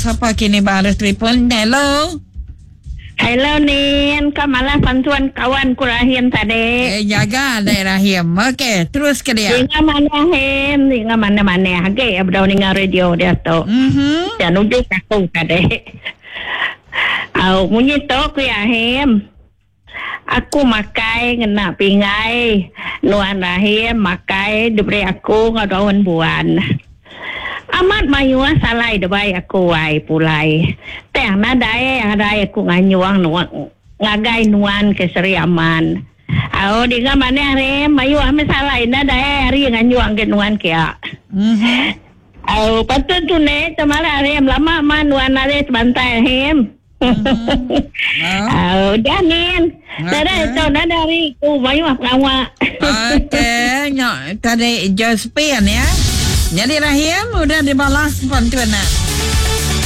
Sapa kini ba arus telefon? Hello. Hello Nin, ka malah pansuan kawan ku Rahim tadi. Eh jaga dek Rahim. Okey, terus ke dia. Ninga manah Him, ninga manah-manah agi bedau ninga radio dia tu. Mhm. Ya nuju ke aku tadi. Au munyi tu ku iya Him. Aku makai ngena pinggai nuan Rahim makai diberi aku enggau daun buan. Amat mayuh salai debai aku ai pulai. Tang nadai arai aku nganyung ngagai nuan ke Seri Aman. Au dinga manah Rahim mayuh meh salai nadai ari nganyung ke nuan kia. Au patut tu ne temalah Rahim lama man nuan ari sebantai Rahim. Oh. Udah nin. Nadai tu nadai hari ku mayuh pengawa. Okey, nyok tadi Josephine ya. Jadi Rahim udah dibalas pantun nak.